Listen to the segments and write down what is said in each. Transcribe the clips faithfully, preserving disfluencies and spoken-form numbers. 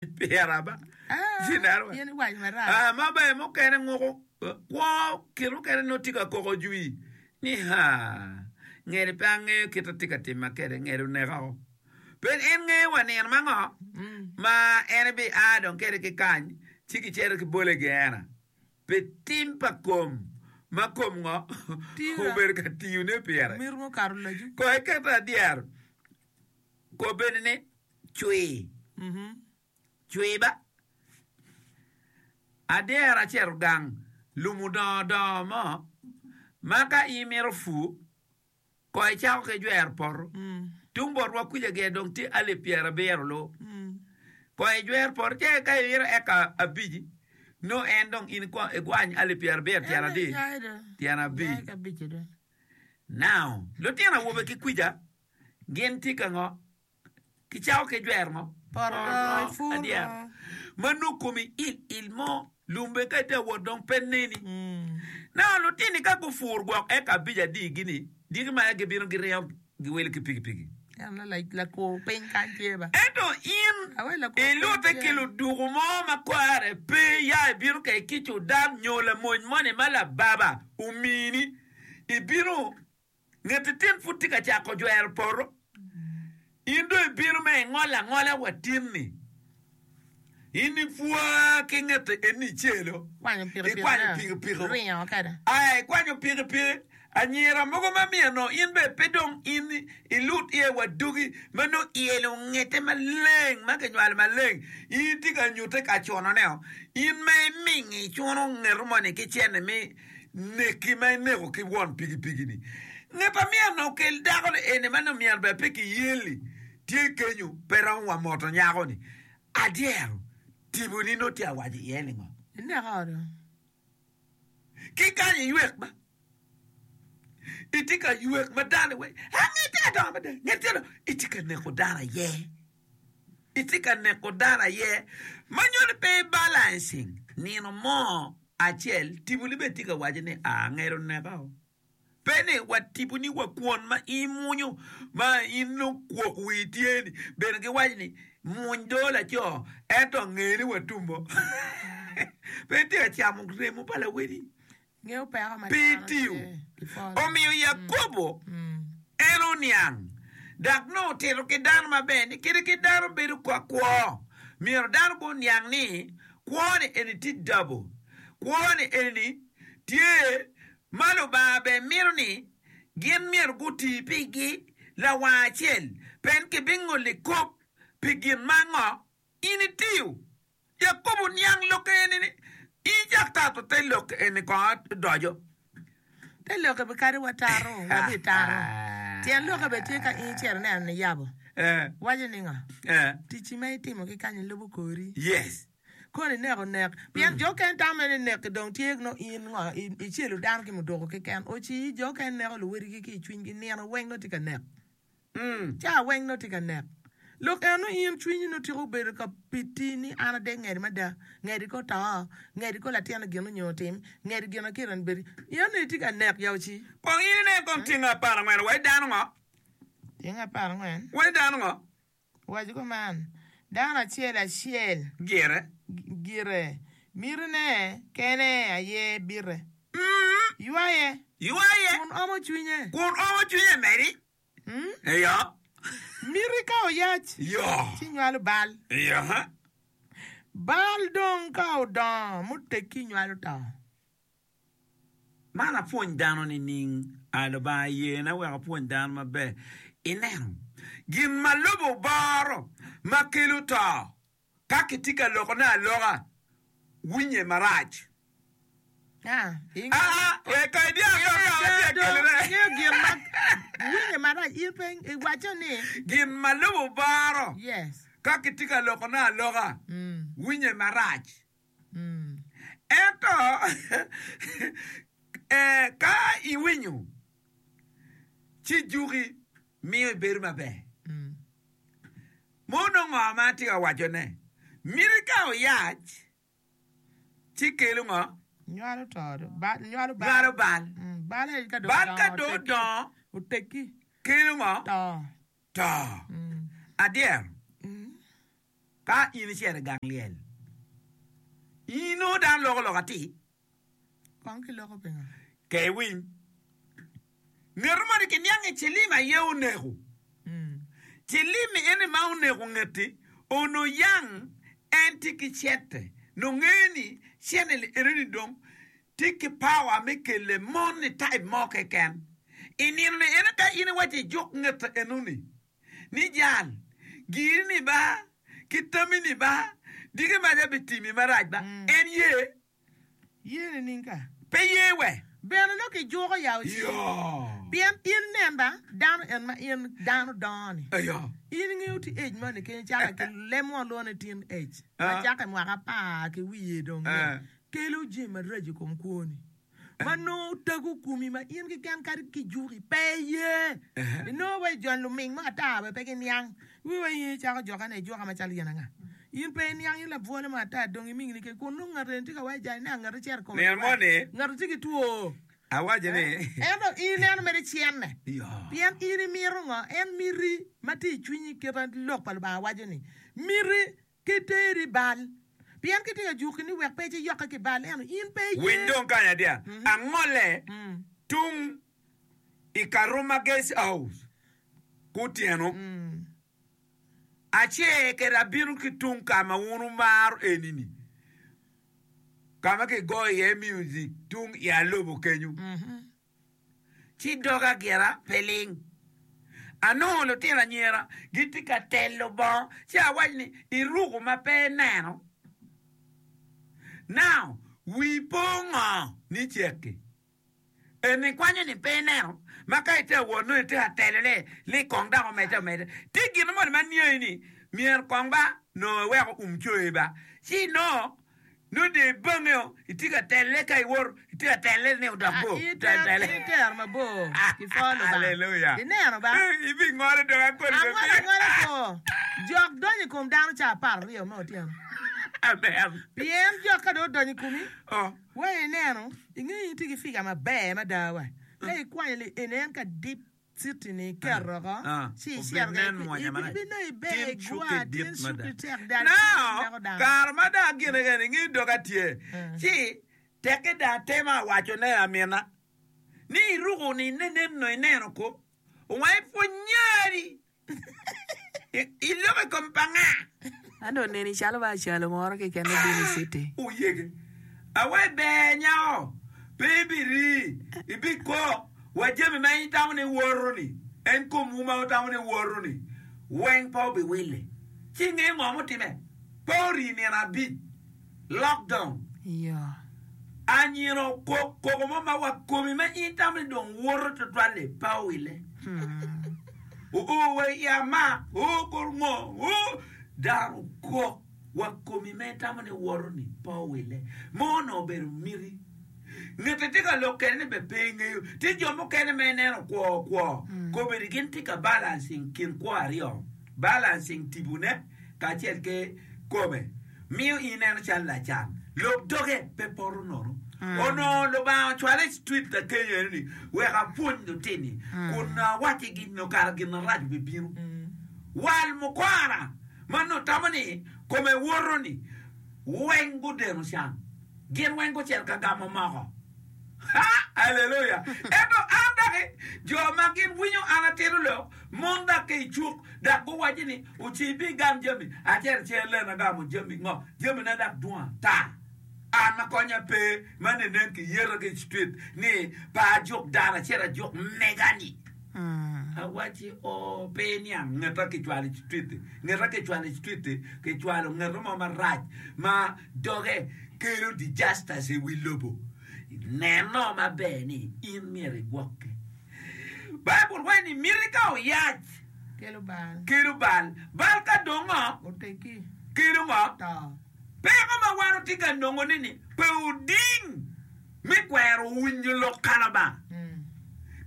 Pira ba. Ah, ma ber mukene nguko kwo kit mukene nongo tye ka koko jwi ni ha ngede pe angeyo kit atye ka tima kede ngede oneka o. Pe en ngeyo wa nino ma ngo ma en ebi a dong kede ki kany ci kicito ki bole gena pi tim pa kom ma kom ngo obedo ka tiyone pire. Ko iketo adyero kobedi ni cwi. Cwi ba. Adyera acito gang lum odongo dongo mo ma ka in imito pur ko icako ki jwero poto. Tung botwa kuca gire dong tye alip pyerabiro lu. Ko ijwero poto ce ka imito eka abic nongo en dong in igwany alip pyerabiro tyen adi? Tyen abic. Now lutino awobe ki kwica gin tye ka ngo? Kicako ki jwero ngo? Poto adyera. Ma nongo komi il il mo, lum bene ka itye ka wot dong pe neni. Naka lutini ka gupur gwok eka abic adi gini, diki ma gibino giringo giwilo ki pikipiki. Ento in ilute ki luduku mo ma kore pe ya ibino ka ki Cudan nyo lamony moni ma lababa omini, ibino Nget tin pud tye ka cako jwero poto. In dong ibino me ingolo angola wa tin-ni. In ipwa ki ngete eni icelo. Ikwanyo Ikwanyo pikipiki. Aya ikwanyo pikipiki. Anyira mogo ma miyo nongo in bene pe dong in ilut iye wa dogi ma nongo iyelo ngete maleng ma kinywalo maleng. In itye ka nyute ka cunone-o. In ma imingi icuno ngeto moni ki cene mi Neki ma ineko ki won pikipiki-ni. Nget a myero okel dako-ni eni ma nongo myero bene pe kiyeli tye kenyo pe romo wa moto nyako-ni. Adyero tipo-ni nongo tye awaco iye ni ngo? Ineko do. Ki kany iywek ba. Itye ka ywek ma dano weng, ah nget tye ka dongo mada, nget tye ka dongo. Itye ka neko dano aye. Itye ka neko dano aye. Ma nyuto ni pe i balancing nino mo acel tiponi bene tye ka waco ni aa nged oneka o. Pe ni wa tiponi wa kwon ma in imwonyo ma in nongo kwok wii tye ni bene giwaco ni mwony doo laco ento nge ni wa tummo. Pe itye ka camo remo pa lawedi. Ngeyo peko ma Pe dano itiyo. tye ki polo. Omiyo Yakobo en oniang dok nongo otito ki dano maber ni kadi ki dano bedo ka kwo, myero dano guniang ni kwo-ni eni tye dabo. Kwo-ni eni tye ma Lubanga bene mito ni gin myero guti pigi lawang acel, pien kibingoli kop pi gin ma ngo in itiyo. Yakobo oniang lok eni ni, In cak tato te lok eni kong odoco. Te lokke be kadi watato, wabitato. Tyen lokke bene tye ka in icito ineno niyabo. Waco ni ngo? Ticci ma itimo ki kany lubo kori. Yes. Kono ineko nek. Pien jo okene tamo ni nek dong tye nongo in ngo icelo dano ki muduku keken. Ocii jo okene neko luwotgi ki i cwinygi nino weng nongo tye ka nek. Ca weng nongo tye ka nek. Lok eno in cwinyi nongo tika obedo ka piti ni an adek ngedi mada, ngedi ko to, ngedi ko latin gin onyo otim, ngedi gin akita ni bedi. In ni itye ka nek ya oci. Kong in inen kong tyeng apar angwen wa i dano ngo? Tyeng apar angwen. Wa i dano ngo? Owaco kuman, Dano acel acel Gire. gire, mitine kene aye bite. Ywaye. Ywaye. Kun omo cwinye. Kun omo cwinye medi. Iyo. Miti ka oyac. Iyo. Ci nywalo bal. Iyo. Bal dong ka odongo muteggi nywalo to. Man apwony dano nining? A Lubanga yena wek apwony dano maber. Ineno gin ma lobo oboro ma kelo to, ka kitye ka lokone aloka, winye marac. Aa, Aa, wek ka idyang dok ka atye ka kelone. Ingeyo gin ma winye marac, in pe iwaco ni. Gin ma lobo oboro Yes. ka kitye ka lokone aloka, winye marac. Ento ka iwinyo, ci juki miyo ibedo maber. Mono ngo ma atye ka wacone? Miti ka oyac, ci kelo ngo? Nywalo to, nywalo bal. Nywalo bal. Bal aye ka dong Bal ka dong odongo, oteggi, kelo ngo? To. To. Adyero. Ka in icito i gang lyel, inongo dano loko lok atir. Kong kiloko pingo? Ke iwiny. Ngeto moni kiniang ni cilim aye oneko. Cilim eni ma oneko ngeti onongo yang en tye ki cente. Nongo ngeyo ni cente enoni dong tye ki power me kele mon ni type mo keken. I nino ni eno ka in iwaco ijuk ngete enoni ni jal giri ni ba ki tami ni ba diki maca bitimi marac ba en ye. Ye nining ka? Pe ye we. Bene nongo kijuko ya oci. Pien in inen ba, dano en ma in dano dongo ni. In ingeyo ti age moni keny cake ki lem mo lwongo ni teen age. Ma cake mwaka apar ki wiye dong ni kelo jami maraco i kom kwoni. Ma nongo tago komi ma in keken kadi kijuki pe iye. Inongo wa ijony luming mo ata bene pe giniang. Wi wa in icako jokane ijuka macalo yen anga. In pe iniang in labwole mo ata dong imingni keken kun nongo ngat eni tye ka waco jani ni ngat ocito i kome Nino moni ngat tye ki two. Awaco ni. Ento in ineno mere cenne. Pien in imito ngo? En miti ma tye i cwinyi kit ma lok pa Lubanga waco ni miti ki teri bal. Pien kitye ka juki ni wek pe iyokke ki bal ento in pe iye. Winy dong kany adiya. Angolle tung i Karuma Guest House kutyeno. Acer kede abino ki tung ka ma wun wumaro eni-ni, ka ma kigoyo iye music tung i alobo kenyo, ci doga gira pe ling. Anongo lutino anyira gitye ka telo bongo, ci awaco ni, Iruko ma pe ineno? Now, wii po ngo ni cek-ki? En ikwanyo ni pe ineno, ma ka itye ka wot nongo itye ka telone ni kong dok omedde omedde. Tye gin moni ma niangi ni myero kong ba nongo iwek oum coyi ba, ci inongo nongo dong ibangeo itye ka telle ka iwoto itye ka telle ni odok bor. Itero itero mabor ki pwo Lubanga. Aleluya. Ineno ba? Ibingolo dong akoli Angolo angola ko. Jok donyo i kom dano ca apar aryo me otyeno. Amen. Pien jok ka dong odonyo i komi, Oh. Wa ineno, ingeyo in tye ki figa maber mada wa. Ka ikwanyo li eni en ka deep city ni iketo oko, ci icito kede ibinongo iber igwa tin cuki tek dal Now, neko dano. kare ma dong agine kene ingeyo doga tye, ci tekke dong atemo awacone amina ni iruko ni nen no ineno ko, owang ipwony nyari. Iloko i kom pa nga? Ento oneni calo ba acalo moro keken obino i city. Oyege. Awa iber nyako, pe ibiri, ibikok wa jami ma in itamo ni iwoto-ni, en komwu ma wutamo ni iwoto-ni weng pe obiwille. Ci ingeyo ngo mutime? Pe ori nino abic. Lockdown. Iyo. Anyira okok koko mo ma wa komi ma in itamo ni dong woto tutwal-li pe owille. Oo wa i amak, oo kor ngo, oo dano okok wa komi ma itamo ni woto-ni pe owille. Mo onongo obedo miti. Ngete tye ka lok kede ni bene pe ingeyo. Tye jo mukene ma ineno kwo kwo, kobedi gin tye ka balancing kin kwo aryo, balancing tibone kacel ki kome. Miyo in ineno calo lacan. Lok doge pe poto nono. Onongo Lubanga ocwala i street ka kenyo eno ni wek apwony lutini kun awaccigi nyo kara gin marac obibino. Wal mukwara ma nongo tamo ni kome woto ni weng gudeno can. Gin weng gucito ka gamo moko. Ha! Aleluya! Ento an doki, jo ma gin winyo an atito lok, mon dok ki i cuk, dok guwaco ni, Oci ibigam jami. Acito acel len agamo jami ngo? Jamina dok dwong ata. An ma konya pe, ma nenen kiyeta ki i street ni pe ajuk dano, acito ajuk mega-ni. Awacci, Oo, pe iniang ngeta kicwalo i street-ti. Ngeta kicwalo i street-ti, kicwalo ngeta mo marac ma doge kelo disasters i wi lobo. Neno maber ni in myero igwokke. Baibul waco ni miti ka oyac Kelo bal. kelo bal. Bal ka dong ngo? Oteggi. Kelo ngo? To. Peko ma wan watye ka nongone ni pe oding me kwero winyo lok ka Lubanga.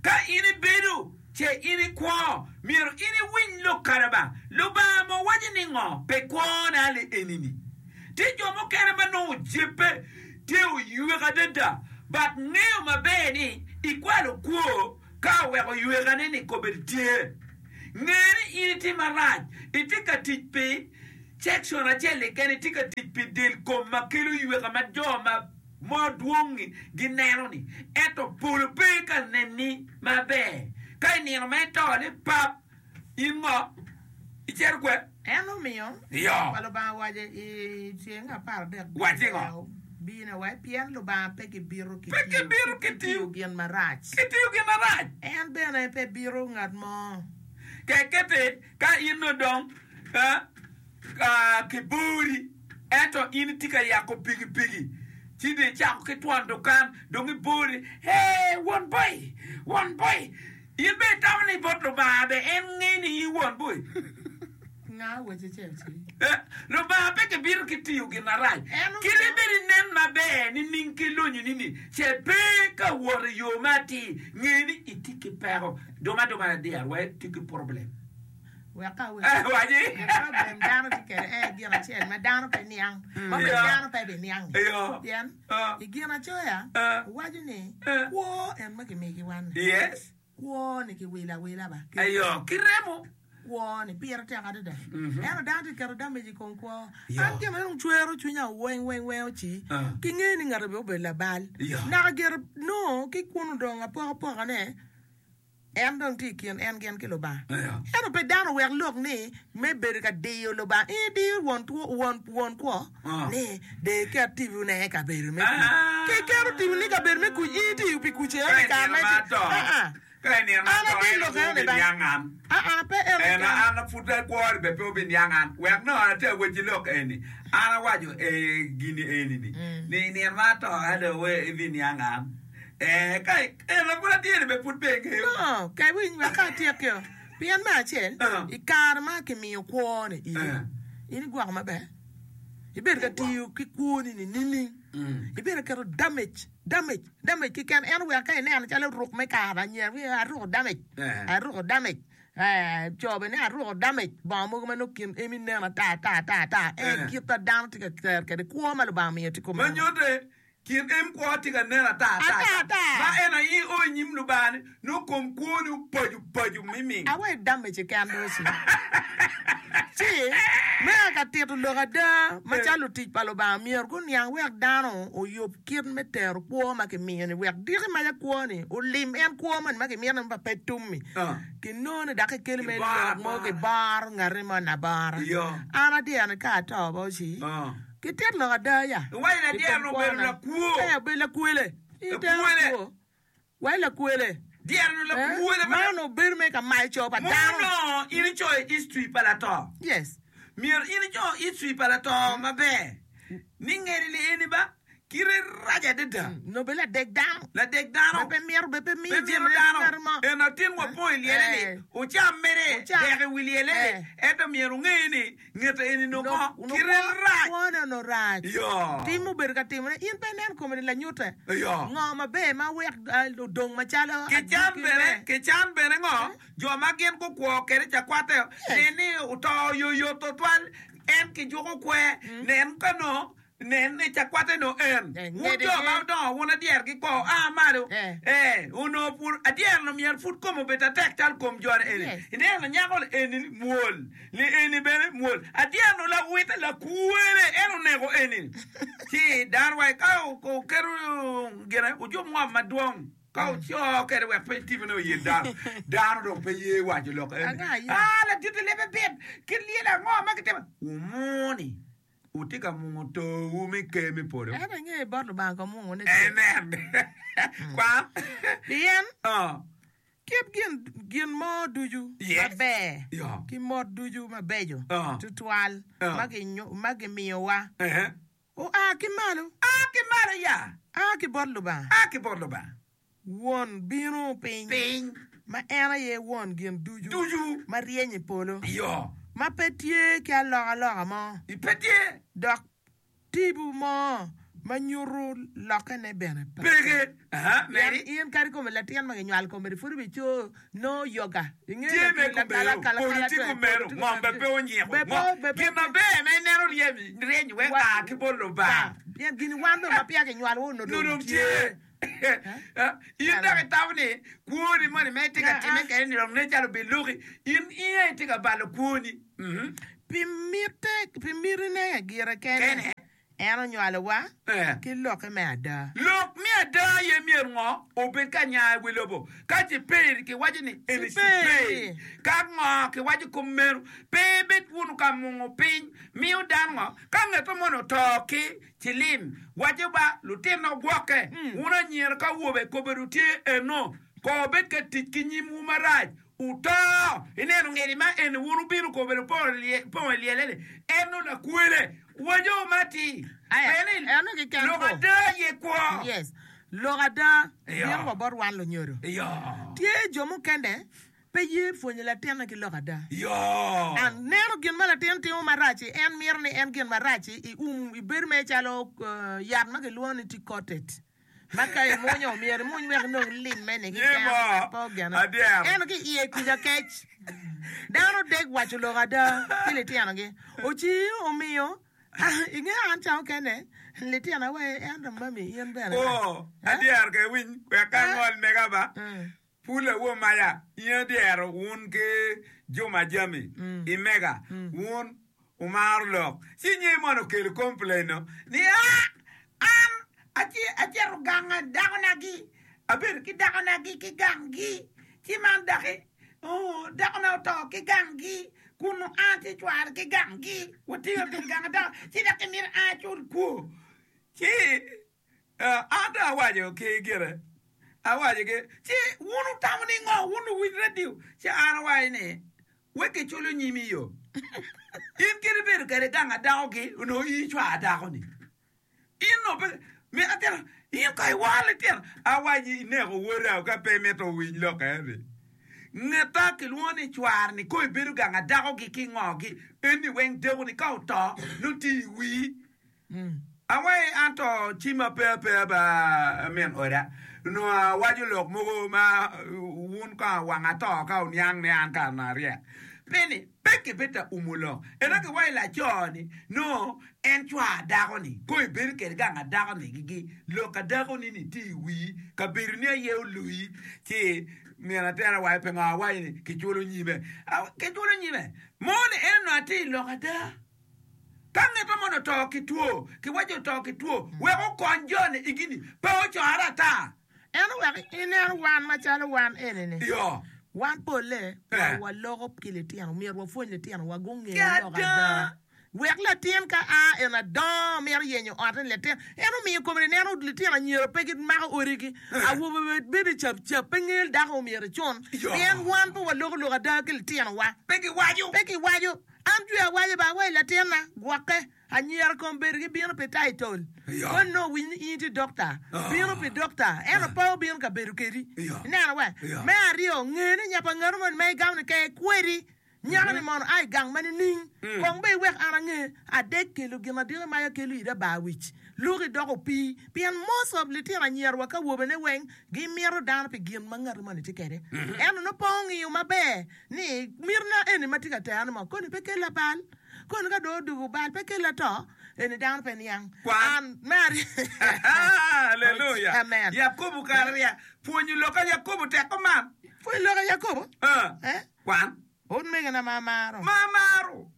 Ka in ibedo ce in ikwo, myero in iwiny lok ka Lubanga. Lubanga mo waco ni ngo pi kwone ali eni-ni? Tye jo mukene ma nongo ojebbe tye oywek adada, but ngeyo maber ni ikwalo kwo ka oweko ywekane-ni kobedi tye. Nge ni in itye marac, itye ka tic pi Section acel keken tye ka tic pi del kom ma kelo yweka ma jo ma mo dwong-ngi gineno ni ento polo pe ka neni maber. Ka i nino ma ito ni pap, in ngo icito kwe? En omiyo Iyo. pa Lubanga owaco i tyeng apar adek Waci ngo? Bino wai pien Lubanga pe kibito ki Pe kibito ki tiyo. tiyo gin marac. Ki tiyo gin marac. En bene pe bito ngat mo. Kekete ka in odong eh, ah, kibori ento in itye ka yako pikipiki ci dong icako ki twon dukan dong ibori hey won boy won boy in bene itamo ni bot Lubanga be en ngeyo ni in won boy. Nga weche ce ci. Eh, Lubanga pe kibito ki tiyo gin marac. En Kit ibed inen maber nining ki lonyoni ni ce pe ka wot i yo ma atir nge ni itye ki peko. Dong adong adyero wa itye ki problem. Wek ka Eh, waci. problem dano tye kwede en gin acel ma dano pe niang. Ma pe Yeah. dano pe biniang. Iyo. Pien Ah. i gin acoya Ah. waco ni Ah. kwo en ma kimiyo ki wan ni. Yes. Kwo ni kiwilo awila ba. Ayo, ki remo. Kwo ni pire tek adada. Ento dano tye keto damage i kom kwo. Yo. An gin ma dong cwero cwinya weng weng weng oci. Ah. Ki ngeyo ni ngati obedo labal. Yo. Naka gire no ki kunu dong apokapokane en dong tye i kin en gin ki Lubanga. Ayo. Ento pe dano wek lok ni me bedo ka diyo Lubanga. In idiyo won two won won kwo Ah. ni de ket tipone i kabedo me kuc. Ah. Ki iketo tiponi i kabedo me kuc in itiyo pi kuc Ka eno i kare inino ma ma iti- ato. Ah, ah. Ka inino ma An ato ati en lok pe eno ni ba. obiniang an. Ah, ah, pe en En keken. an pud akwori be pe obiniang an. Wek no ate awaci lok eni. An awaco eh, gini eni ni. Ni nino ma ato ado we ibiniang an. Eh, ka en pud atye ni be pud pe ingeyo. No, ka iwiny wek ka atyekio. Pien me acel, Ah. i kare ma kimiyo kwo ni in, Ah. in igwoko maber. Ibedo ka tiyo ki kwoni ni nining. Ibedo ka keto damage, damage, damage keken. En wek ka ineno calo ruk me kare anyira, wi aruko damage, Eh. aruko damage. Eh, co bene aruko damage. Bongo mogo ma nongo kin emi nen ata ata ata ata. En Eh. kit ma dano tye ka tero kwede kwo ma Lubanga omiyo tye Ma kumeno. nyute kin em kwo tye ka nen ata ata Ata, ata. Ma en aye o i nyim Lubanga ni nongo kom kwoni opaco paco miming. Awe damage keken doci. Ci me ka tito lok ada macalo lutic pa Lubanga myero guniang wek dano oyub kit me tero kwo ma kimiyo ni wek diki maca kwo ni olim en kwo moni ma kimiyo ni ma pe tummi. Ah. Kinongo ni dok kikelo me Kiboro lok mo abora. kiboro ngati mo nabora. Iyo. An adyero ni ka ato ba oci. Ah. Kitit lok ada ya. Iwaco ni adyero I kom ni obedo kwona. lakwo. Eh, obedo lakwele. Itero Lakwele. kwo. Wai lakwele. Dyero ni Eh, lakwele ma Man obedo me ka mayo co pa dano. Mono in icoyo history pa lato. Yes. Myero in ico history pa lato maber. Ni ngeri li eni ba kite rac adada. Nobel ladek dano. Ladek dano. Be pe mito, be pe miyo Pe jami mito ne dano. ngati mo. En atin wapong i lyele ni Eh. ocam mere Ocam. dek i wi lyele ni Eh. ento myero onge ni ngete eni nongo No- kite no- rac. Kwone ono rac. Yo. Tim obedo ka timone. In pe ineno kome ni lanyute. Yo. Ngo maber ma wek eh, odong macalo Kican adwogi bene, me. kican bene ngo, jo ma gin gukwo kede cakwate, nen ni oto oyoyot tutwal, en kijuko kwe, nen ka no, nen ni cakwate no en. Eh, Wun ngede jo ma en. odongo, wun adyer ki kwo, a malo. Eh. Eh, ono pur, adyer no myero pud kome obed atek cal kom jone eni. Yes. Ineno nyako li eni ni mwol, li eni bene mwol. Adyer no lawite lakwele, en oneko eni. Ci dano wa ka o- oketo gine, ojub ngom madwong. Ka oco kede wek pe tipone oyel dano. Dano dong pe ye waco lok eni. Anga aye. Ah, ladit lebe bit, kit lyel ango ma kitimo. Wumuni, wutye ka mungo towu me ker me polo. En ange bot Lubanga ka mungo ne tye. Amen. Kwa? Pien Ah. kit gin gin mo ducu Yes. maber Yo. ki mot ducu mabeco Ah. tutwal Ah. ma ginyo- ma gimiyowa Eh. oa ki malo Ah, ki malo ya. a ki bot Lubanga Ah, ki bot Lubanga. won bino piny Piny ma en aye won gin ducu ducu. ma ryeny i polo Yo. ma pe tye ki alokaloka mo Pe tye. dok tipo mo ma nyuto lokkene bene pe. Peke. Aha, Pien meri. in kadi kome latin ma ginywalo kome pud obico no yoga Ingeyo Tye me lakala- komero, kala- polo kala- tye kala- komero, tye ngom be pe onyiko. Be po- Ngom- be pe- Gin maber ma ineno ryeny, ryeny wek Wa- a ki bot Lubanga. Pien gin wan dong ma peya kinywalo wa onongo Nongo dong dong tye. Eh, In dok itamo ni kwoni moni ma itye ka Ah, time ah. kede ni dong nen calo obiluki. In in aye itye ka balo kwoni. Mhm. Pi mitte, pi mitine gire kene, Kene. en onywalowa Eh. ki lokke me ada. Lok me ada aye myero ngo obed ka nya i wi lobo. Ka ciperi kiwaco ni eni Ciperi. ciperi. Ka ngo kiwaco kom meno, pe ibed wunu ka mungo piny miyo dano ngo. Ka ngeto moni oto ki cilim, waco ba lutino gwokke, wun anyira ka awobe kobedo tye eno, ko obed ka tic ki nyimwu marac. Oto! Ineno ngedi ma eni wun wubino kobedo pongo i lyelle-ni, en nongo lakwele. Waco ma atir. Aya, Pien ni eno keken lok ko. ada aye kwo. Yes. Lok ada Iyo. bino wa bot wan lunyodo. Iyo. Tye jo mukene pe ye pwonyo latinne ki lok ada. Iyo. An neno gin ma latin timo marac-ci, en mito ni en gin marac-ci i um ibedo mere calo uh, yat ma kilwongo ni tea-coated. Ma ka imunyo myero imuny wek inong limme-ni keken Nyimo. pe ogene. Adyero. Ento ki iye kuca kec. Dano dek waco lok ada ki litinogi. Oci omiyo inge an ca okene litina we ento mami in bene. Oh, Eh? adyero ke winy wek ka Eh? ngol mega ba. Mm. Pul awo maya, in adyero wun ki Juma Jami Mm. i mega Mm. wun umaro lok. Ci nye mono okelo complain no ni ah an aci- acito ganga dakonagi abedo ki dakonagi ki ganggi ci man daki oh, dakona oto ki ganggi kun an ci cware ki ganggi watingo bedo ganga dako ci dok imito an acul kwo ci eh, an dong awaco ki gire awaco ki ci wun utamo ni ngo wun uwiny radio ci an awaco ni wek kiculo nyimi yo in kadi ibedo kede ganga dakogi onongo in icwar dako-ni in onongo pe mi atino in ko iworo litino awaci ineko woda ka pe imito winy lok eni ngeta kilwongo ni cwar-ni ko ibedo ganga dakogi ki ngogi eni weng deko-ni ka oto nongo tye i wii Mm. Awai an to cima pe apeya ba min oda onongo awaco lok mogo ma wun ka wang ato ka oniang ni an ka onongo aryek peni pe kibed ta umo lok ento kiwaco laco-ni no en cwar dako-ni ko ibedo kede ganga dako-ni gigi lok a dako-ni ni tye i wii kabedo ni aye oluyi ci min atera waco pingo awaco ni kiculo nyime Aw, kiculo nyime mo ni en onongo atye i lok ada ka ngeto mono oto ki two kiwaco oto ki two wek okony joni igini pe ocore ata En owek ineno wan macalo wan eni-ni. yo Wan polle Eh. wa waloko ki litino myero wapwony litino wa gunge Ki lok ada. ada. Wek latin ka a en adongo mito yenyo otte ni latin en omiyo kome neno litino anyira pe gimako odigi awobe be bedo cap cap pe ngeyo dako myero icun Yo. pien wan pe waloko lok ada ki litinowa pe kiwaco pe kiwaco an jwi awaco ba awaco latinna gwokke anyira kom bedo gibino pi title Yo. koni nongo winyo ni in tye dokta Ah. bino pi dokta ento pe obino ka bedo kedi Yo. ineno we Yo. me aryo nge ni nya pa ngatu moni ma igamo ni ke kwedi nyako ni mono a i gang ma nining kong be iwek an ange adek kelo gin adika ma ya kelo ida bar wic luki doko opii pien most of litino anyira wa ka awobene weng gimito dano pi gin ma ngatu moni tye kede ento nongo pe ongiyo maber ni mitina eni ma tye ka terane mo koni pe kela bal koni ka dong odugo bal pe kela to eni dano pe niang Kwan. an me aryo Hallelujah. Amen. Yakobo kare rya pwonyo lok a Yakobo teko man pwony lok a Yakobo Ah. eh kwan utmegina ma amaro ma amaro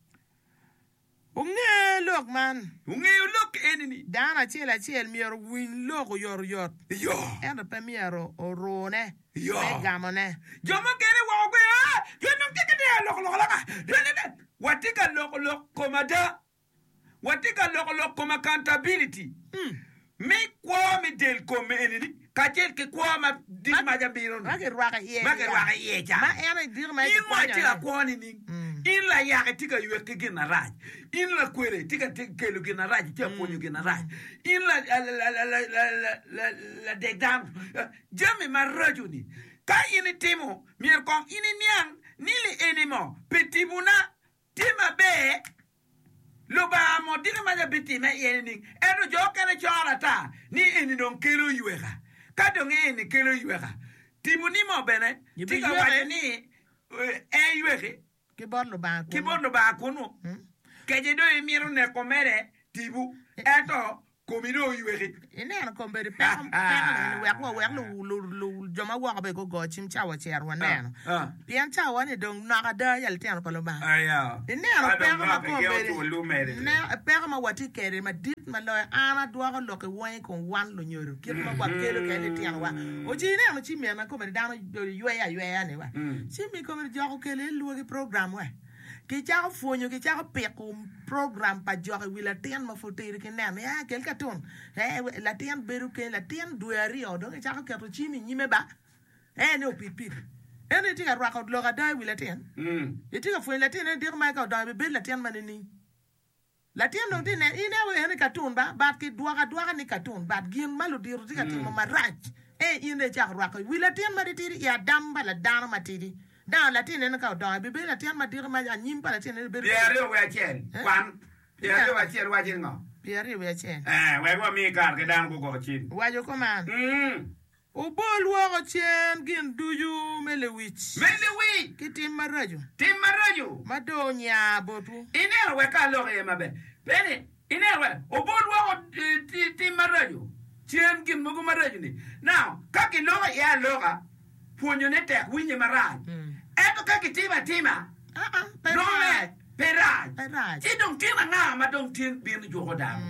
Unge lok man ungeyo lok eni ni dano acel acel myero owiny lok oyotoyot yo ento pe myero orune Yo. me gamone jo mukene woko gwe ah jo nong tye ka tye loko loko loka Jo nene watye ka loko lok kom ada watye ka loko lok kom accountability me kwo me del kom eni ni kacel ki kwo ma dit maca bino ni ma kirwako iye ma kirwako iye ca ma en aye diko ma in mo itye ka kikwonyo kwo nining in layak itye ka ywek ki gin arac in lakwele itye ka ti- kelo gin arac itye ka pwonyo gin arac in la- la- la- la- la- la- la- ladek dano jami maraco ni ka in itimo myero kong in iniang ni li eni mo pi tibuna tye maber Lubanga mo diki maca bitime iye nining ento jo okene coro ata ni eni dong kelo yweka ka dong eni kelo yweka tibuni mo bene tye ka waco ni eh, en yweki ki bot Lubanga ki kunu bot Lubanga kunu kece dong imito neko mere tibu ento Komi dong oyweki. Ineno kombeddi peko peko ni wek wa wek lu lu lu jo ma woko bene gugo cim ca wacito waneno. Ah. Pien cawa ni dong nok ada ya litino pa Lubanga. Aya. Ineno Ka dong peko ma nok ege kombeddi ocul lumede. ne peko ma watye kwede madit ma loyo an adwoko lok i wangi kun wan lunyodo kit ma wakelo kwede litinowa. Oci ineno ci myena kombeddi dano yweyo ayweya ni wa. Ci mi kombeddi jok okelo iye lwogi program we. Kicako pwonyo, kicako piko program pa jok i wi latin ma pud tidi ki neno ni ah kel katun eh latin bedo keny latin dwe aryo dong kicako keto cim i nyime ba eh ni opid pidi ento itye ka rwako lok ada i wi latin itye ka pwonyo latin ni diko ma ka odongo ibibedo latin ma nining latin dong tye neno in aye en ni katun ba but kidwoko adwoka ni katun but gin ma ludito tye ka timo marac eh in dong icako rwako i wi latin ma titidi i adam pa ladano matidi Dano latin eno ka odongo ebibedo latin madito ma anyim pa latin eno bedo Pyeraryo wiye acel kwan. Pyeraryo wiye acel waco ni ngo? Pyeraryo wiye acel. Eh, wek wami kare ki dano gugo cim. Waco kuman, Mm. Wubol woko cen gin ducu me lewic. Me lewic. Ki tim maraco. Tim maraco. Ma dong onya botwu. Ineno wek ka alok iye maber. Peni, ineno wek obol woko tim maraco cen gin mogo maraco-ni. Now, ka kiloko iye aloka, pwonyone tek winye marac. Ento ka kitimo atima, nonge pe rac. Ci dong tin anga ma dong tin bino juko dano?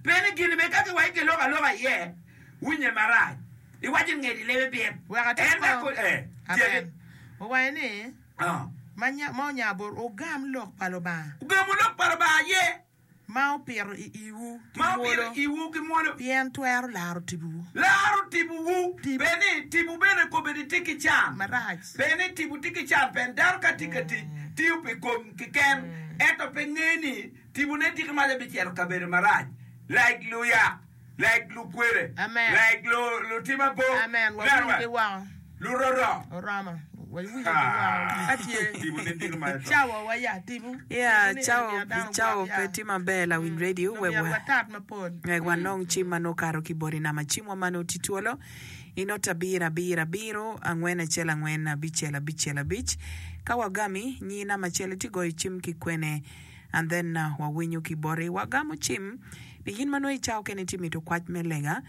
Pe ni gin bene ka kiwaco kiloko aloka iye, winye marac. Iwaco ni ngedi lebe bit. Wek atit En kong. ko, eh, tyeki. Amen. Owaco ni, Ah. Ma nya, ma onya bot, wugam lok pa Lubanga. Wugamo lok pa Lubanga aye. Ma opito i iwu ki Ma opito mwolo. i iwu ki mwolo. Pien twero laro tibuwu. Laro tibuwu. Tipo. Pe ni tibu bene kobedi tye ki can. Marac. Pe ni tibu tye ki can pien dano ka tye ka tic tiyo pi kom keken ento pe nge ni tibune tye ki mac abicito kabedo marac like luyak, like lukwele, Amen. like lu lutim abor, Amen. neno Wawinyo ki wa, woko. luroro. Oromo. Wawinyo ki woko. Ka tye. Tibune tye ki mac to. Cawa wa ya tibu. Yeah, Tibu ni cawa myero dano cawa gwok pe ya. tye maber lawiny radio Dong wek myero wa watat mapol. wek wanong cim ma nongo okato ki boti nama cimwa ma nongo tye twolo i not abiro abiro abiro angwen acel angwen abicel abicel abic ka wagami nyi nama acel itye goyo cim ki kwene and then uh, wawinyo ki boti wagamo cim pi in ma nongo icawo kene itye mito kwac me lega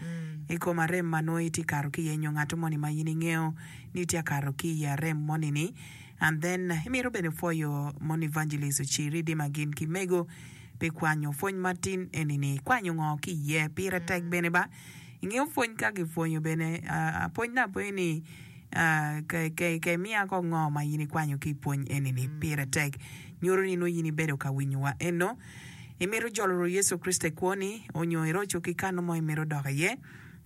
i kom arem ma nongo itye kato ki iye nyo ngat moni ma in ingeo ni itye akato ki i arem moni ni and then imito bene pwoyo mon evangelist ociri dima gin ki mego pi kwanyo pwony matin eni-ni kwanyo ngo ki iye pire tek bene ba ingeo pwony ka gipwonyo bene uh, pwony na aponyo ni uh, ke, ke, ke miya ko ngo ma in ikwanyo ki i pwony eni-ni pire tek nyuto ni nongo in ibedo ka winyowa eno imito jolo Yecu Kricito i kwoni onyo iroco ki kano mo imito dok iye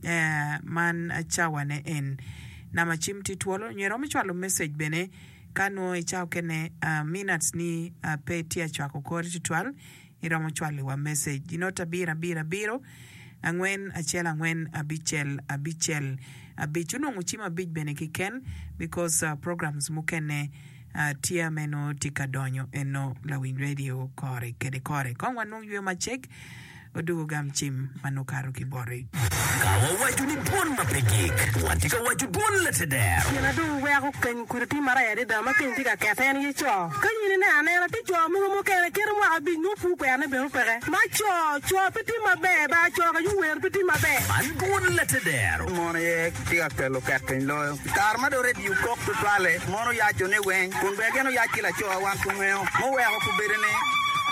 eh, man cawane en nama cim tye twolo nyo iromo cwalo message bene ka nongo icawo kene uh, minutes ni uh, pe tye acwako kori tutwal iromo cwalo message inot abiro abiro abiro angwen acel angwen abicel abicel abic onongo cim abic bene kiken because uh, programs mukene uh, tye meno tye ka donyo eno lawiny radio kore kede kore kong wanong yweyo macek odugo gam cim ma nongo okato ki boti Ka wawaco ni dwon ma pe gik, wan tye ka waco dwon lateder. Gin adong weko keny kudi tye marac adada ma keny tye ka kete en ye co. Ka in ineno anena tye co mogo mukene kite mwaka abic nongo pur kwerone bene opeke. Ma co, co pe tye maber ba co ka yuwer pe tye maber. Man dwon lateder. Mon aye tye ka kelo ket piny loyo. Kare ma dong redio kok tutwale, mon oyaco ni weng, kun bene gin oyac ki laco wan kungeyo. Muweko kubedo ni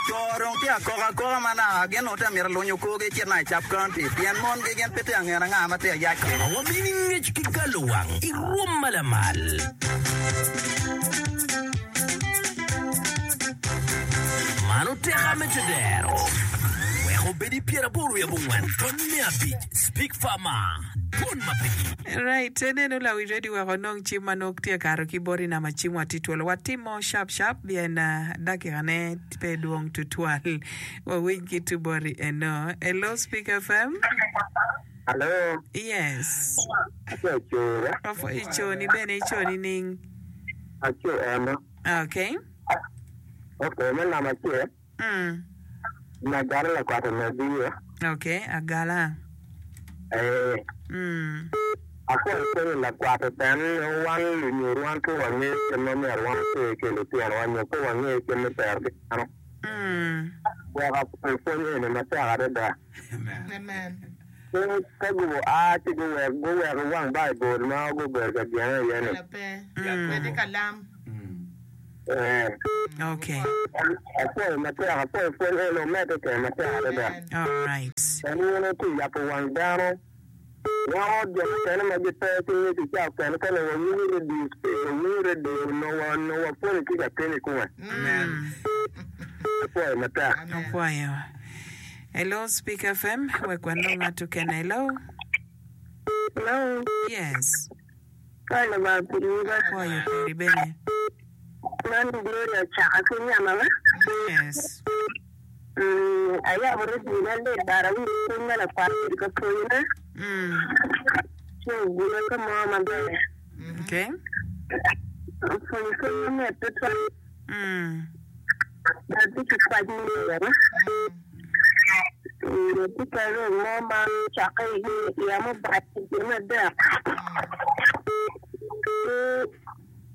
co dong tye akoka akoka ma naka gin onongo tye amito lunyo korgi cit na i Sub County pien mon gi gin pe tye angeno anga ma tye ayac kwede. Ma wamini ngec ki galo wang i rwom ma lamal. Man oteka me tedero. Wek obed i pyeraboro wiye abongwen ton me abic Speak Farmer. Dwon ma pe gik. Right, eneno lawiny radio wek onong cim ma nongo tye kato ki boti nama cim wa tye twolo watimo sharp sharp pien uh, dakikane pe dwong tutwal wawiny ki tu boti eno hello Speak F M Hello, yes aco acora, Wapwo ico ni bene ico ni ning aco eno. okay Okay, me namba acel, mm. nagara lakwat omegiyo. Okay agala Eh, mm. aco ipenyo lakwat en wan lunyodo wan pe wangeyo kit ma myero wan oter ki litinowa nyo pe wangeyo kit me tero ki dano. Mm. Wek apwoyo pwony eni matek adada. Amen. Ka gubo a ci guwek guweko wang Baibul ma gubedo ka jenge iye ni. Ela pe. Bed i kalam. Eh, Okay. apwoyo matek, apwoyo pwony eni omedde kede matek adada. Amen. All right. En in itye yabo wang dano. Weko jo mukene ma gipe ki ngec i cawa okene ka nongo wawinyo radio station, wawinyo radio, nongo wa- nongo wapwonyo ki ka keny i kome. Apwoyo matek. Amen. Opwoyo. Hello, Speak F M. Wek wanong ng'at okene. Hello. Hello, Yes. ka Lubanga piri ba. Opwoyo piri bene. Man Gloria Chaka ki Nyamama. Yes. Mm, ayabo redio na lit bara winjo pwony ma lakwat obedo ka pwonyone. Mm. Ci ogule ka mo maber. Okay. Opwonyo pwony mamit tutwal. Mm. Atye ki kwac me yero. Mm, atye ka rem mo ma ocakke i iya mubac i dwe me adek.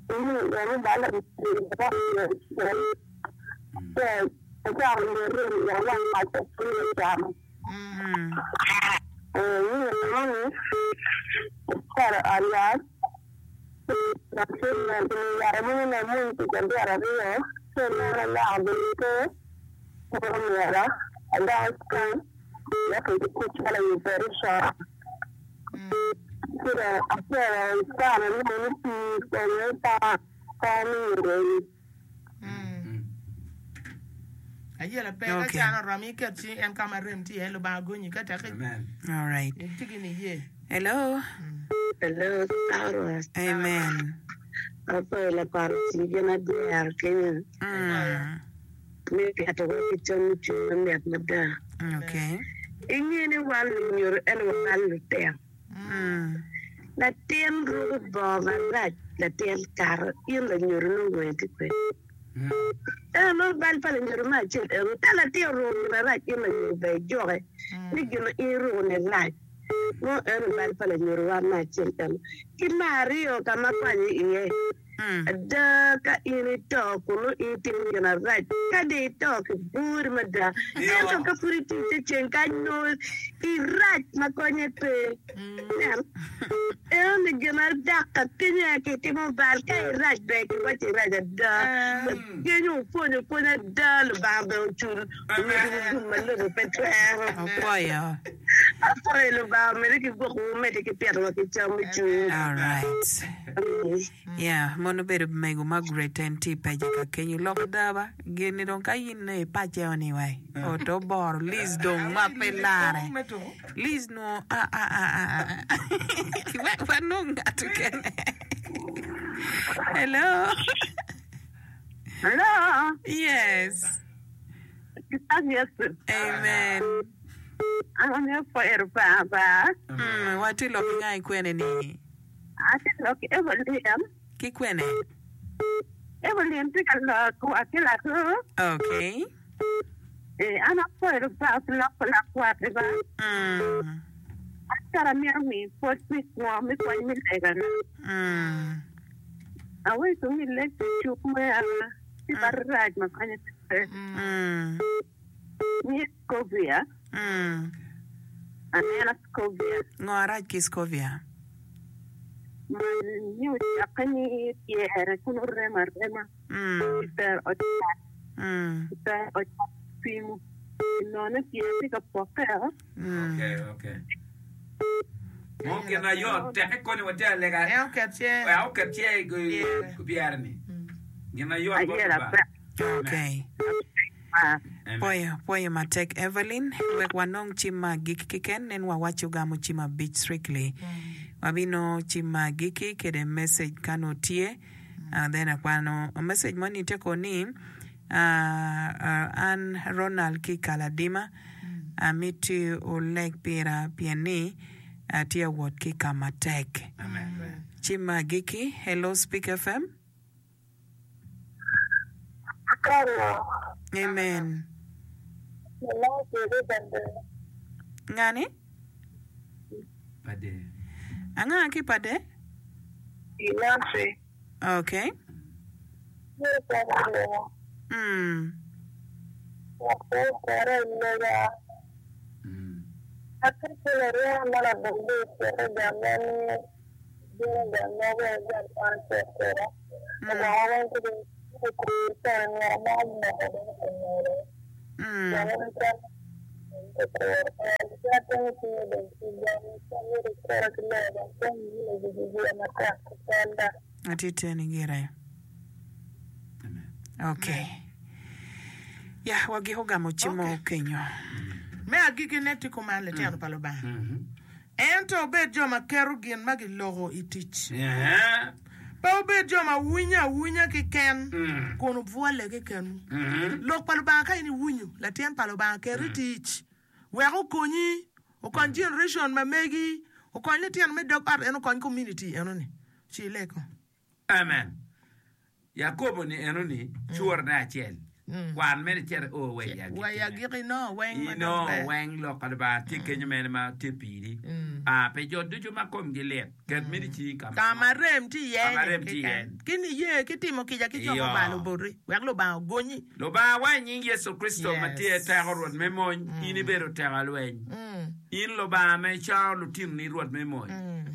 Ki iya mubal acako lirem i awang mac acwiny ocamo. Mm. Ni acito i ot yat, yat mogo ni amwony pi cabit aryo, ci oneno aloko obedo pe, omyero adok i scan wek kicit calo i operation. Ci dong acito i scan anongo ni pii onyo i pa mi Ayela pe ka Okay. can oromo iket ci en ka ma rem tye iye Lubanga gonyi ka tek All right. itye ki niye. Hello. Hello, Sarah. Amen. Apwoyo lakwat oti gin adyero kenyo Mm. me keto wa ki cam me cwiny mamit mada. Okay. Inge ni wan lunyodo ento wabalo lutino. Mm. Latin ruko bongo marac, latin kato, in lanyodo nongo wangi tye kwede. Ento nongo bal pa lanyodo me acel eno, ka latin oruko gin marac in lanyodo bene ijuke ni gin ma in iruko ni rac. Nongo eno bal pa lanyodo wan me acel eno. Ki me aryo ka ma kwanyo iye, Mm. ada ka in ito kun nongo in itimo gin arac, ka dong ito kiburi mada, ento ka pud itye i te ceng kany nongo irac ma konye pe. Nen, eno ni gin adak ka kenyo aye kitimo bal, ka irac ber kiwaco irac ada. Kenyo opwonyo pwony ada, Lubanga bene ocul omedigi gum ma lobo pe twero. Opwoyo. Apwoyo Lubanga omedde ki gwokowu medde ki pitowa ki cam me cwiny. All right. Yeah, mono bedo mego Margaret en tye i peja ka kenyo lok adaba gin dong ka in i pace oni wai oto boro Liz dong ma pe lare Liz no a a a a a wek wanong ngat okene. Hello. Hello. Yes. Yes. Amen. An apwoyo Lubanga ba. Mm, watye lok nga i kwene ni Atye lok Evelyn. Ki kwene? Evelyn tye ka lok wa ki latu. Okay. Eh, an apwoyo Lubanga pi lok pa lakwat ba. Mm. An kara amito miyo pwoc pi kwo me pwony me legana. Mm. Aweco mi lek pi cuk me a tye marac ma konyo pe. Mm. Ni Scovia. Mm. Anena Scovia. Ngo arac ki Scovia? Ma ni ocakke ni pyere kun oremo arema. Mm. Kitero ocak. Mm. Kitero ocak pimo. None pyere tye ka pokke. Mm. Okay, okay. Mo gin ayot teke koni watye alega. En oket ce. Wek oket ce i pyere ni. Gin ayot bot Ayera Lubanga. pe. Okay. Ah. Amen. Poyo, poyo matek Evelyn, wek wanong cim ma agikki keken nen wawaco gamo cim abic strictly. Wabino cim ma agikki kede message kano tye. Uh, then akwano message moni tye ko ni uh, uh, an Ronald ki Kaladima amiti oleg pira pien ni atye awot ki kama tek. Amen. Cim ma agikki, hello Speak F M. Amen. Ngani? Pade. Anga ki pade? Nancy. Okay. Mm. Atye teni gire. Okay. Ya, wagiko gamo cim Okay. kenyo. Me agikine tye kuman litino pa Lubanga. Ento wubed jo ma keto gin ma giloko i tic. Eh. Pe wubed jo ma winyo awinya keken, Mm. kun wubwolle kekenwu. Mhm. Lok pa Lubanga ka in iwinyo, latin pa Lubanga ket i tic. Wek okonyi, okony generation ma megi, okony litino me dog ot en okony community enoni. Ci ileko. Amen. Yakobo ni enoni curne acel. Kwan mere cito o wa i Wa i agikine. agikki no weng ma Ino dok ber. weng lok pa Lubanga tye kenyo mene ma tye piri. Ah, pe jo ducu ma komgi lit, ket mini cingi ka ma Ka ma rem tye iye Ka ma ni rem tye iye. keken. Ki niye ki timo kica ki jo Iyo. mubalo boti wek Lubanga ogonyi. Lubanga wa i nying Yecu Kricito ma tye Yes. teko Rwot me mony, in ibedo teko alweny. Mm. In Lubanga ma icaro lutinoni Rwot me mony. Mm.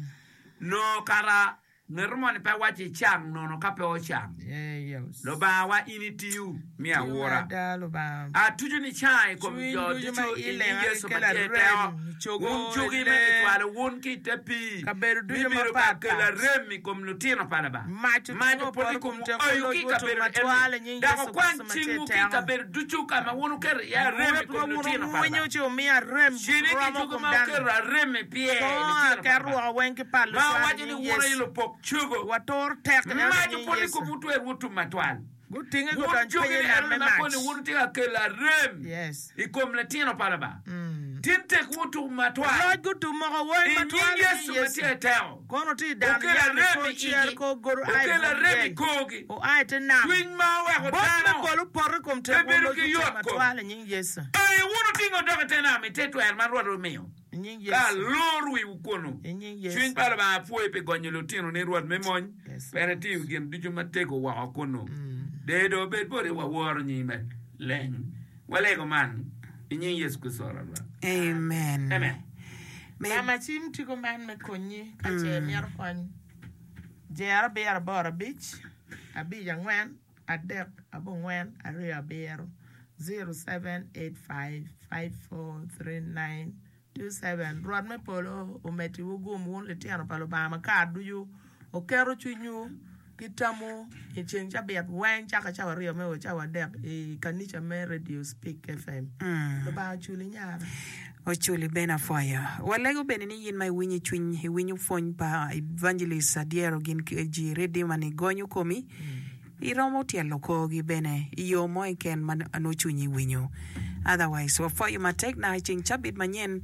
Nongo kara ngeto moni pe waco icang nono ka pe ocang. Yeah, yes. Lubanga wa in itiyo mi Tiyo awura. ada Lubanga. Atuco ni cang i kom Cwiny jo ducu ducu ma i nying ilenga Yecu ma kikelo tye arem, teko. cogo, Wun cogi ma ile, kicwalo wun ki i te pii. Kabedo ducu Bibedo ka mapat kelo pat. arem i kom lutino pa Lubanga. Mac Mac otingo opot i poto kom kom teko oyo loc ki i gutum kabedo matwal i eni. nying Dok Yecu okwany Kricito ma tye cingwu ki i teko. kabedo ducu ka ma wun wuketo iye arem i Wek kom wun lutino pa wuwinyo Lubanga. ci wumiyo arem Cini ki romo cogo kom ma dano. wuketo arem i pye Kongo litino pa aket Lubanga. woko weng ki pal Ma lucwal i owaco ni nying wun aye Yecu. lupok cogo. Watur tek eno i Mac nying opot i Yecu. kom wutwer wutum matwal. Gutinge Wun gudony cogi piny i ni nam eno me ma mac. koni wun wutye ka kelo arem Yes. i kom litino pa Lubanga. Mm. Tin tek wutum matwal. Loc gutum moko weng I nying matwal i Yecu nying ma tye Yecu. teko. Kono tye i dan Okelo yam i arem kor i cer igi. kor godo ai Okelo bot arem i yei. korgi. Oa i te nam. Cwiny ma oweko Bot me dano. polo opoto i kom Pe tek bedo wun ki loc gutum yot kom. matwal i nying Yecu. Ee, wun otingo dok i te nam i te twer ma Rwot omiyo. I nying Ka Yecu. alor wiwu kunu. I nying Cwiny Yecu. pa Lubanga pwoyi pi gonyo lutino ni Rwot me mony. Yes. Pene tiyo gin ducu matego woko kunu. Dee do bed boti waworo nyime leng. Walego man i nying Yecu Kricito Rwot. Amen. Amen. Me- Nama cim tye kuman me konyi ka ce imito kony. Jero abiro aboro abic, abic angwen, adek abongwen, aryo abiro. Zero seven eight five five four three nine two seven. Rwot me polo omeddiwu gum wun litino pa Lubanga ma kare ducu oketo cwinywu ki tamwu i ceng cabit weng caka cawa aryo me o cawa adek i kanica me Radio Speak F M. Mm. Lubanga oculi nyara. Oculi bene apwoyo. Walego bene ni yin ma iwinyo i cwiny iwinyo pwony pa Evangelist Adyero gin ki ji Redeemer ni gonyo komi iromo tyelo korgi bene i yo mo keken ma nongo cwinyi winyo. Otherwise wapwoyo matek na i ceng cabit manyen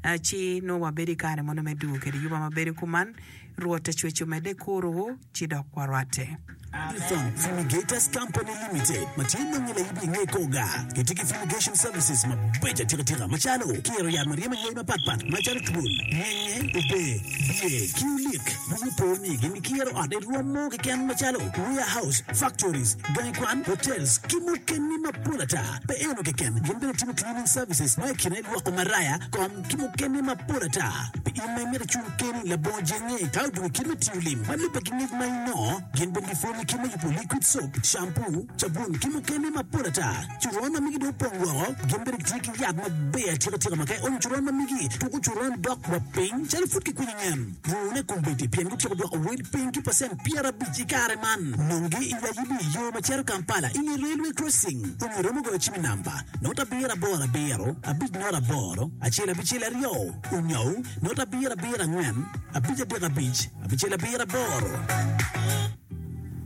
eh, ci nongo wabedo i kare mono me dugo kede yuba mabedo kuman Rwot acweco medde kuruwu ci dok warwatte. Agri-Farm Fumigators Company Limited ma tye nonge laibi i nge koga gitye ki fumigation services mabeco atikatika macalo kiro yat ma ryemo anywai mapatpat macalo twol, ngenge, obe, biye ki olik. Buku po ni gin gikiro ot i rwom mo keken macalo warehouse, factories, gangi kwan, hotels ki mukene mapol ata. Pe eno keken, gin bene timo cleaning services ma i kine lwoko maraya, kom ki mukene mapol ata. Pi in ma imito icung keni labongo jenge ka odong i kit me tiyo lim ma lubbe ki ngec ma inongo, gin bene gipwonyo kit me yubo liquid soap, shampoo, cabun ki mukene mapol ata. Curon ma migi dong opong woko, gin bene gitye ki yat maber atikatika ma ka ionyo curon ma migi tuko curon dok wa piny calo pud kikwinyo nyen. Rune kombeddi pien gutyeko dwoko wel piny ki pacent pyerabic i kare man. Nongi i Layibi yo ma cito Kampala i nge railway crossing. Onyo iromo goyo cim i namba not abiro aboro abiro abic not aboro acel abicel aryo onyo not abiro abiro angwen abic adek abic abicel abiro aboro.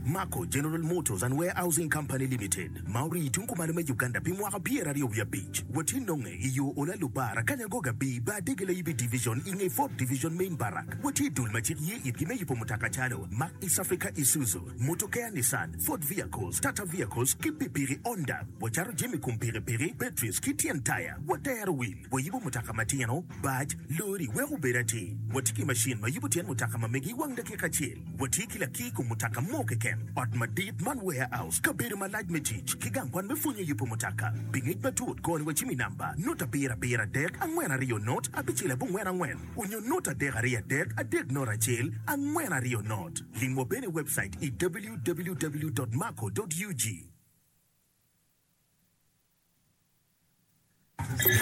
Mako General Motors and Warehousing Company Limited ma ori tung kumalo me Uganda pi mwaka pyeraryo wiye abic. Watye nonge i yo Ola Lubara Kanyangoga B ba Adege Layibi Division i nge Fourth Division Main Barrack. Watye dul ma cik ye itgi me yubo mutoka calo Mack East Africa Isuzu, Motokea Nissan, Ford Vehicles, Tata Vehicles ki pikipiki Honda. Wacato jami kom pikipiki, batteries ki tyen taya. Watero wil. Wayibo mutoka matino, bac, lori wek obed atir. Watye ki macin ma yubo tyen mutoka ma megi i wang dakika acel. Watye ki lakir kom mutoka mo keken. keken. Ot madit man warehouse, kabedo malac me tic, ki gang kwan me pwonyo yubo mutoka. Pi ngec matut, goni wa cim i namba not abiro abiro adek angwen aryo not abicel abongwen angwen onyo not adek aryo adek adek not acel angwen aryo not. Limwa bene i webcait i www dot maco dot ug.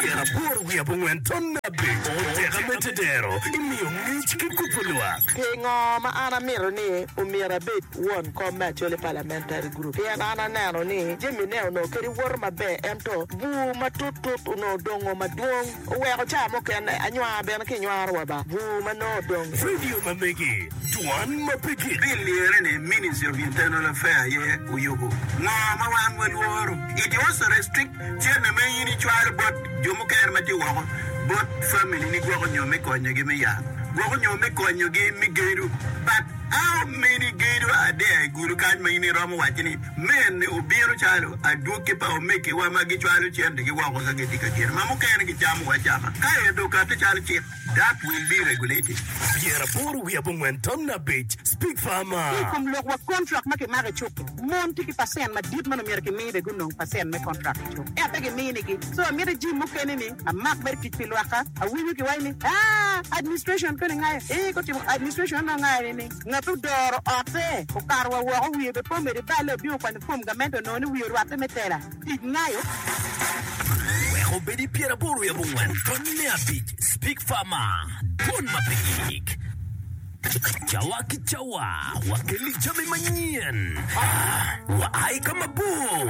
Pyeraboro wiye abongwen ton abic oteka me tedero imiyo ngec ki kubo lwak. Pingo ma an amito ni omyero abed won kom me Acholi Parliamentary Group? Pien an aneno ni jami ne onongo kadi woto maber ento bur matut tut onongo odongo madwong oweko ca mukene anywar bene ki nywaro wa ba bur ma nongo odong. Radio ma megi, dwan ma pe gik. Bill lire ni Ministry of Internal Affairs aye oyubo. Ngo ma wan walworo? It also restrict cente ma in icwalo bot jo mukene ma tye woko bot family ni gwoko nyo me konyogi me yat, gwoko nyo me konyogi me gedo. But how many gedo are there i gudo kany ma in iromo waco ni mene obino calo adwogi pa omegiwa ma gicwalo centegi woko ka gitye ka gedo ma mukene gicamo acama ka ento okate calo cik? That will be regulated. Pyeraboro wiye abongwen ton abic Speak Farmer. Ki i kom lok wa kontrak ma kimako i cuk-ki, mon tye ki pacent madit ma nongo myero kimi bene gunong pacent me kontrak i cuk ento pe giminigi. So amito jim mukene ni amak mere tic pi lwakka. Awinyo kiwaco ni aa administration koni ngayo ee kotimo administration onongo ngayo ni ni ngat odoro otte okato wa woko wiye bene pe omedo iballe obino okwanyo form gamente onongo ni wiye orwatte me tela tic ngayo. Wek obed i pyeraboro wiye abongwen tony me abic Speak Farmer, Dwon ma pe gik. Cawa ki cawa wakelli jami manyen. Wa ai ka mabor.